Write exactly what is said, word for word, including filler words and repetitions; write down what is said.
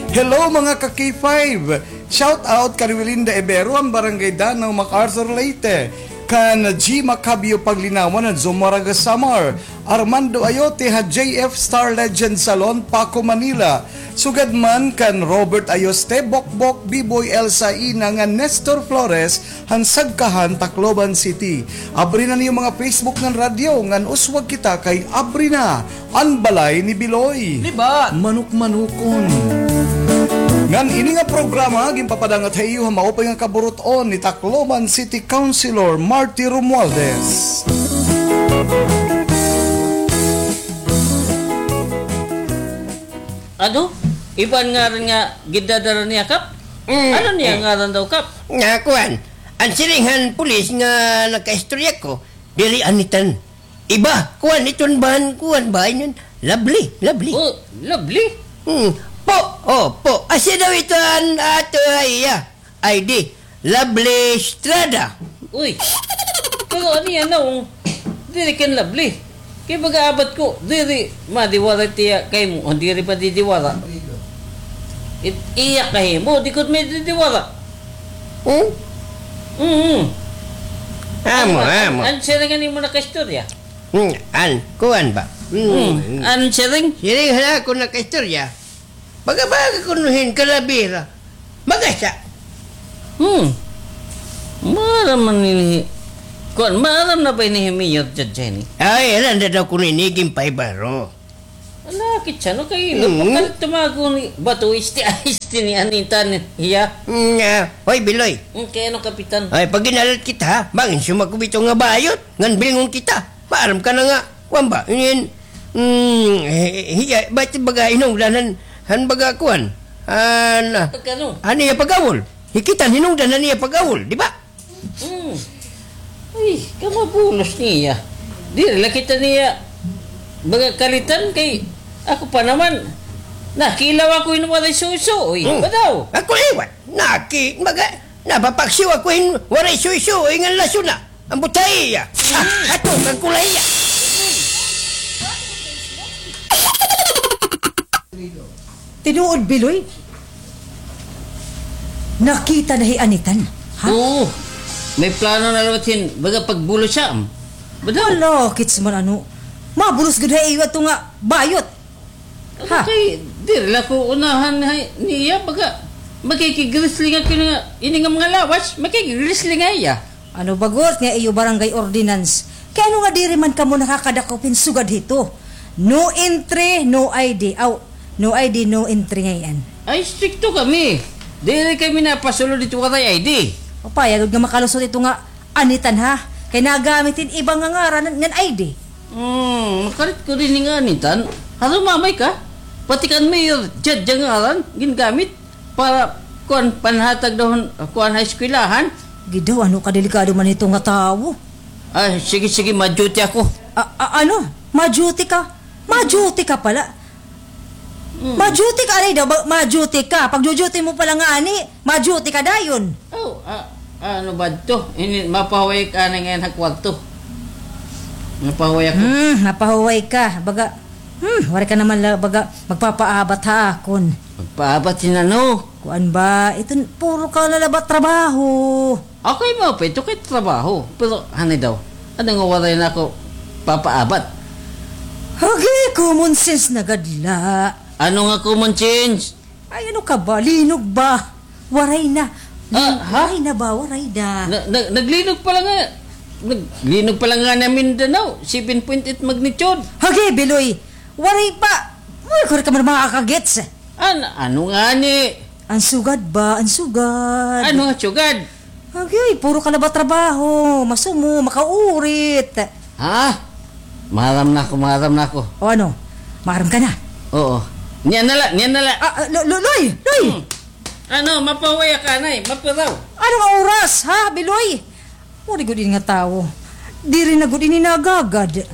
Hello, mga ka K five! Shout out kan Wilinda Ibero, han Barangay Danao, MacArthur, Leyte. Kan G Macabio Paglinawan, han Zumarraga, Samar. Armando Ayote, ha J F Star Legend Salon, Paco, Manila. Sugad man kan Robert Ayoste, Bokbok, Biboy, Elsa Ina, ngan Nestor Flores, han Sagkahan, Tacloban City. Abri na niyo mga Facebook ngan radyo, ngan uswag kita kay abri na an balay ni Biloy. Libat. Manukmanukon. Ngan ini nga programa, ginpapadangat ha iyo ha maupay nga kaburut-on ni Tacloban City Councilor Marty Romualdez. Ano? Iba an ngaran nga gindadara niya, Kap? Mm, ano niya mm. ngaran daw, Kap? Nga, kuan. An siring han pulis nga nakaistorya ko, diri Anitan. Iba, kuan, iton ban, kuan ba, inon? Lovely, lovely. Oh, lovely? Hmm. Po, oh, po. Asya daw ito an ato, ay, iya. I D, Lovely Estrada. Uy, pero ano yan na, oh? Diri kan Lovely. Kay baga abat ko, diri, madiwara tiya kay mo, o diri pa didiwara. It, iya kay mo, di ko may didiwara. Hmm? Mm-hmm. Amo, amo. An siring an imo nakaistorya? Hmm, an, kuan ba? Hmm. Hmm. An siring? Siring hala ako nakaistorya. Baga-baga kuno hin kalabira. Magasa. Hmm. Maaram man ini. Kuan, maaram na ba ini hi Mayor Judge ini? Ay, alam na daw kuno ini, ginpaibaro. Ala, kitsa no kay Hmm. Pagkalit tumago ni Bato, isti, isti ni Anitan, iya. Hmm, ah, hoy, Biloy. Hmm, kay ano, Kapitan? Ay, pag inalat kita, ha? Bangin sumakubito nga bayot, ngan bilingon kita. Maaram ka na nga, kuan ba? Inin, mm, eh, hiya, ba't baga hinungdan han, han baga kuan? Han, ah, Pagkano? han iya pag-awol. Hikitan hinungdan han iya pag-awol, di ba? Mm. Uy, kamabulos niya. Diri la kita niya baga kalitan kay ako pa naman. Nakilaw ako hin waray suso, uy. Hmm. Badaw. Ako liwat. Naki, baga, napapaksiw ako hin waray suso, uy, ngan lasuna. An butay iya. Ah, ato, kan kulay iya. Tinuod, Biloy? Nakita na hi Anitan, ha? Oo. May plano na liwat hin baga pagbulos hiya. Badaw. Hala, kits man ano. Mabulos gud ha iyo ato nga bayot. Ha? Kay, diri la ko unahan hay, niya, baga, makikig-wrestling ako nga, ini nga mga lawas, makikig-wrestling hiya. Ano bagot nga iyo barangay ordinance? Kay ano nga diri man kamo nakakadakop hin sugad hito? No entry, no I D. Aw, no I D, no entry ngay-an. Ay, strikto kami. Diri kami napasulod hito waray I D. Upaya gud nga makalusot ito nga Anitan, ha? Kay nagamit hin iba nga ngaran ngan I D. Hmm, makarit ko dinhi nga Anitan. Harumamay ka? Pati kan Mayor Judge nga ngaran, gingamit para, kuan, panhatag daw, kuan, ha eskwelahan. Gidaw, ano kadelikado man ito nga tawo? Ah, sige, sige, ma-duty ako. A-, a-, ano? Ma-duty ka? Ma-duty ka pala? Mm. Ma-duty ka, aray daw, ba, ma-duty ka. Pag-duty mo pala nga ani, ma-duty ka dayon. Oh, ah, ano ba ito? Ini, mapahuway ka na ngayon ha kwarto. Mapahuway ako. Hmm, mapahuway ka. Baga, hmm, waray ka naman la, baga, magpapaabat ha akon. Magpaabat hin ano? Kuan ba? Ito, puro ka lalabat trabaho. Okay mo, Pito, kay trabaho. Pero, hani daw, ano nga waray na ako papaabat? Hagi, common sense na gad la. Ano nga common sense? Ay, ano ka ba? Linog ba? Waray na. Ah, ha? Waray na ba? Waray na. Na, na, naglinog pala nga. Naglinog pala nga na Mindanao. Seven point eight magnitude. Hagi, Biloy. Waray pa. Uy, kuri ka man makakagets. An-, ano nga ni? An sugad ba? An sugad. Ano nga sugad? Agay, puro ka la ba trabaho. Masumo, makaurit. Ha? Maaram na ako, maaram na ako. O ano? Maaram ka na? Oo. Niyan na la, niyan na la. Ah, ah, lo-, lo-, Loy! Loy! Hmm. Ano, mapahuway ka, Nay? Mapiraw. Ano nga oras, ha, Biloy? Waray gud ini nga tawo. Diri na gud ini nagagad.